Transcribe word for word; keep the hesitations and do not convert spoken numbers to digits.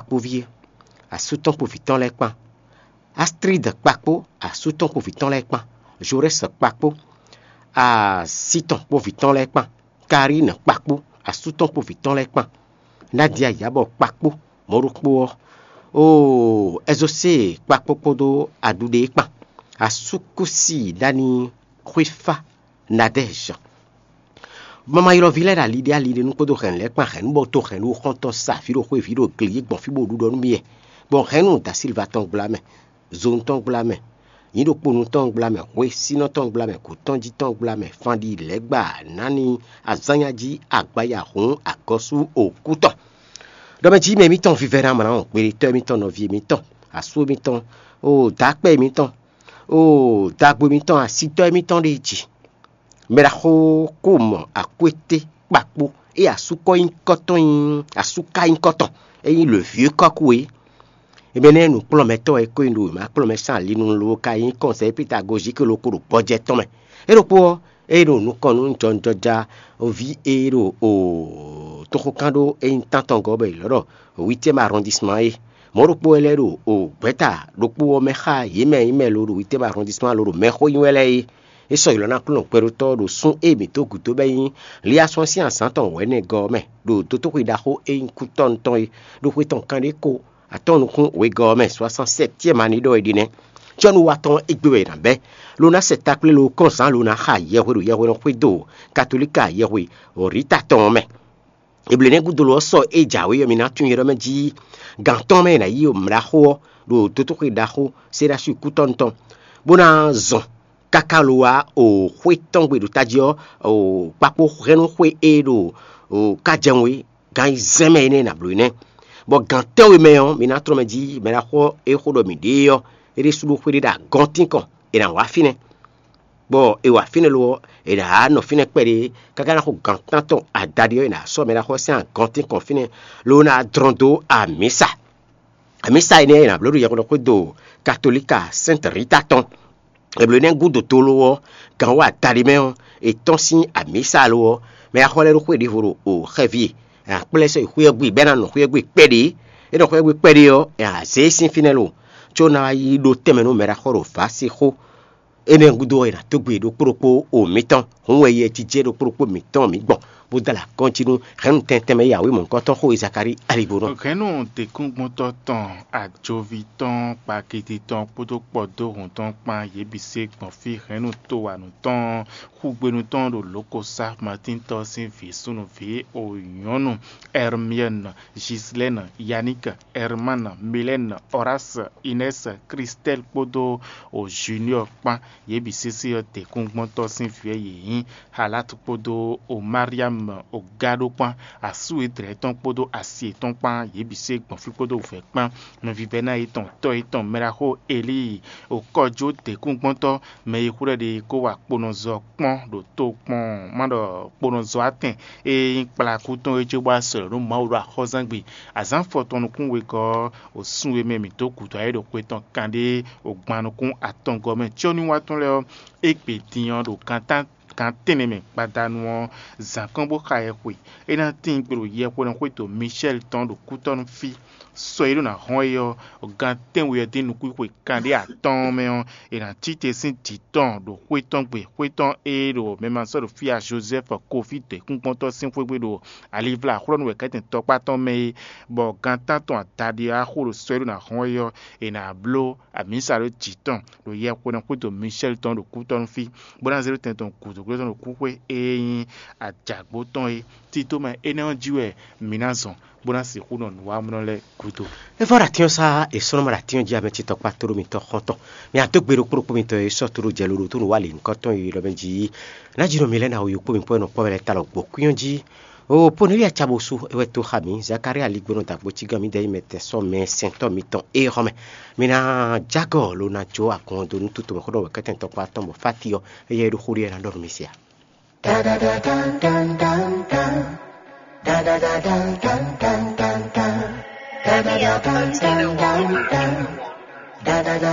kpó ví é, asú tɔn kpó vǐ tɔn lɛ́ɛ kpán, Astrid kpakpó asú tɔn kpó vǐ tɔn lɛ́ɛ kpán, Jorɛ́s kpakpó así tɔn kpó vǐ tɔn lɛ́ɛ kpán, Karín kpakpó asú tɔn kpó vǐ tɔn lɛ́ɛ kpán, Nadia Yabɔ kpakpó mɔ̌ ɖokpó ɔ́, oo Ɛzosée kpakpó kpódó aɖuɖe kpán, asúkúsi ɖ'ani xwéfá Nadɛ́zh. Mamayɔ́ví lɛ́ɛ ɖo ali ɖé ali ɖé nu kpódó hɛ̌nnu lɛ́ɛ kpán hɛ̌nnu bɔ to hɛ̌nnu xɔ́ntɔn sa vǐ ɖo xwé vǐ ɖo gle yí gbɔn fí bó ɖu ɖɔ nú mì wɛ. Gbɔn hɛ̌nnu da Silva tɔn gbla mɛ, zonu tɔn gbla mɛ, nyǐ ɖokponu tɔn gbla mɛ, hwesínɔ tɔn gbla mɛ, kǔtɔnjí tɔn gbla mɛ, fanɖi lɛ̌gba, nǎni, azánnyájí, agbaya hǔn, agɔ́sú, òkú tɔn. Ɖɔ mɛ jí mɛ émítɔn vívɛ́ná mlǎ ɔ́, gběɖetɔ́ émítɔn, nɔví émítɔn, asú émítɔn, oo dǎkpɛ́ émítɔn, oo dagbo émítɔn, asitɔ́ émítɔn ɖe jí. Mɛ ɖaxó kó mɔ akwété kpakpó é asú kɔ́ nyí kɔ́tɔn nyí asú ka nyí kɔ́tɔn é nyí le vieux kɔ́kú é. Ebe nɛ́ nǔkplɔ́nmɛtɔ́ e kó nyi ɖo ma kplɔ́nmɛ sín ali nu ló ka nyí kɔnsɛ́ pitagozíki ló kó ɖo gbɔjɛ́ tɔn mɛ. É ɖokpó ɔ́, é ɖo nukɔn nú jɔnjɔja ví e ɖo toxokán ɖó é nyí tántɔn gɔ́ bɔ è lɔ̌ ɖɔ huitième arrondissement é. Mɔ̌ ɖokpó wɛ lɛ́ɛ ɖo gbɛ̌ta ɖokpó ɔ́ mɛ xá yě mɛ e nyí mɛ lo ɖo huitième arrondissement lo ɖo mɛxó nyi wɛ lɛ́ɛ é. É sɔ́ ylɔ̌ ná Aklúnɔ gbɛɖótɔ́ ɖo sún e mǐ dó gǔdo bɔ é nyí Liasɔ́n sín azǎn tɔn wɛ̌nɛgɔ́ ɔ́ mɛ, ɖo dótóxwe ɖaxó e nyí kútɔ́nu tɔn é, ɖo xwe tɔn kanɖé ko atɔ́ɔ́n nukún wegɔ́ ɔ́ mɛ, soixante-septième année ɖɔ è ɖe nɛ́. Cɔ́nuwatɔ́ égbé wɛ è nǎ bɛ́, lo ná sɛ takplé lo kɔn zǎn lo ná xa yɛhwe ɖo yɛhwenɔ xwedó katolíka yɛhwe Rita tɔn ɔ́ mɛ. Eblenɛ́ gúdo lɔ ɔ́ sɔ é jǎwe ɔ́, mi ná tunwun yɛ ɖɔ mɛ jí gǎn tɔn mɛ è nǎ yí mlǎxó ɔ́ ɖo dótóxwe ɖaxó Séɖasu kútɔ́nu tɔn, bó ná zɔn káká lo wá o xwé tɔn gbe ɖo tají ɔ́, o kpakpó hɛnnú xwé e ɖo o kájɛwun é, gan yi zɛ́n mɛ énɛ́ nǎ bló énɛ́. Bɔ gan tɛ́nwe mɛ ɔ́, mi ná tlɔ́ mɛ jí mɛ ɖaxó e xó ɖɔ mǐ ɖe é ɔ́, é ɖésú ɖó xwé ɖé ɖo agɔntín kɔn, è nǎ wá fínɛ́. Bɔ è wǎ fínɛ́ lo ɔ́, è nǎ nɔ fínɛ́ kpɛɖé káká ná xo gan tántɔn adaɖé ɔ́, è nǎ sɔ́ mɛ ɖaxó ɔ́ sín agɔntín kɔn fínɛ́, ló ná dlɔ́n dó amǐsa. Amǐsa énɛ́ è nǎ bló ɖo yɛhweɖɔ xwédo katolíka Sɛ́nti Rita tɔn. Eblo énɛ́ gúdo tlóló ɔ́, gan wá adaɖé mɛ ɔ́, è tɔ́n sín amǐsa lo ɔ́, mɛ e xɔ lɛ́ ɖó xwé ɖěvo ɖo o xɛví e, è nǎ kplá ɛ sɔ́ yi xwé ɔ́ gbe, bɔ é ná nɔ xwé ɔ́ gbe kpɛɖé. É nɔ xwé ɔ́ gbe kpɛɖé ɔ́, è nǎ zé e sín fínɛ́ lo, có ná wá yi ɖó tɛnmɛ nú mɛ ɖaxó ɖo vǎ sin xó. Énɛ́ gúdo ɔ́, è nǎ dó gbe ɖokpó ɖokpó o mǐtɔn. Hǔn wɛ yɛ jijɛ ɖokpó ɖokpó mǐtɔn mǐ gbɔn, bó dó alɔ akɔ́n jí nú hɛ̌nnu tɛntɛn mɛ e yǎwé mɔ̌hunkɔtɔn xó Zakalíi aligbónɔ. Hɛ̌nnu děkúngbɔ́ntɔ́ tɔn, ajoví tɔn, kpakiti tɔn kpódó kpɔdóhùn tɔn kpán, yě bǐ se gbɔn fí. Hɛ̌nnu towanǔ tɔn, xúgbénu tɔn ɖo lǒ ko sá Matíntɔ́ sín vǐ súnnuví o nyɔ̌nu, Ɛrmiɛ́nu, Jislɛ́nu, Yaník, Ɛrmánu, Milɛ́nu, Ɔrási, Inɛ́si, Klistɛ́li kpódó o Juniɔ́ɔ kpán. Yě bǐ sésé ɔ́, děkúngbɔ́ntɔ́ sín vǐ wɛ yě nyí. Halát kpódó o Mariam o Gado kpán, asú e dlɛ̌ tɔn kpódó asi yětɔn kpán, yě bǐ se gbɔn fí kpódó wǔvɛ́ kpán. Nɔvívɛ́ná yětɔn tɔ́ yětɔn mɛɖaxó Elíi o kɔjó děkúngbɔ́ntɔ́, mɛ e xwlɛ́ ɖe kó wá kponɔzɔ kpɔ́n ɖo tokpɔn má ɖɔ kponɔzɔ atɛn e nyí kplakú tɔn é cóbɔ asɔ̌ nú Mawu ɖo axɔ́zán gbe. Azǎn fɔtɔn nukún wegɔ́ ɔ́, o sun e mɛ mǐ dó gǔdo ayé ɖo xwe tɔn kanɖé o gban nukún atɔngɔ́ mɛ cɔ́núwa tɔn lɛ́ɛ ɔ́, égbé din ɔ́ ɖo gantán gan tɛ́nnɛ mɛ gbadanu ɔ́, zǎn kɔn bó xa yɛhwe. É ná tíin gbe ɖo yɛhwenɔ xwédo Micɛ́li tɔn ɖo kútɔ́nú fí. Sɔ e ɖó ná hɔn é ɔ́, gan tɛ́nwe ɔ́ dín nukúnxwe kanɖé atɔ́ɔ́n mɛ ɔ́, è nǎ cí te sín jǐ tɔn ɖo xwé tɔn gbe, xwé tɔn e ɖo mɛ ma sɔ́ ɖo fí a Jozɛ́fu Kofi dɔ̌yíkúngban tɔn sín xwé gbe ɖo alivlá xlɔ́nú wɛ̌kɛ́tɛn tɔkpá tɔn mɛ é, bɔ gan tántɔn adaɖé ɔ́ axó ɖo sɔ e ɖó ná hɔn é ɔ́, è nǎ bló amǐsa ɖó jǐ tɔn ɖo yɛhwenɔ xwédo Micɛ́li tɔn ɖo kútɔ́nú fí, bó ná zé ɖó tɛn tɔn gǔdo glɔ́ tɔn ɖo kúxwé e nyí ajǎgbó tɔn é. Tito mɛ énɛ́ ɔ́ jí wɛ mǐ ná zɔn, bó ná sixú nɔ nǔwamlɔ lɛ́ɛ gúdo. É vɔ ɖo atín ɔ́ sá, è sɔ́ nɔ mɔ ɖo atín ɔ́ jí ame ce tɔkpá tóɖó mitɔn xɔ́ntɔn. Mi adó gbe ɖokpó ɖokpó mitɔn e sɔ́ tóɖó jɛ lóɖo tó nǔ wa lǐnkɔ́tɔn e ɖɔ mɛ jí ná jí nɔ mi lɛ́ɛ ná wo yokpó mi kpɔ́ nɔ kpɔ́ wɛ lɛ́ɛ ta lɔ gbɔ̌ kwín ɔ́ jí. O Poneli acabosu é wɛ tó xa mǐ, Zakalía aligbɔnɔ dǎgbó cígán mǐdɛɛ nyí mɛ tɛn sɔ́ mɛ sɛntɔ́ mitɔn é xɔ mɛ. Mi ná jágɔ lo ná jó agɔn dó nú tutomɛxó ɖɔ wɛ̌kɛ́tɛn tɔkpá tɔn bɔ fáti ɔ́, éyɛ́ é ɖó xó ɖé ná ɖɔ nú mi se a?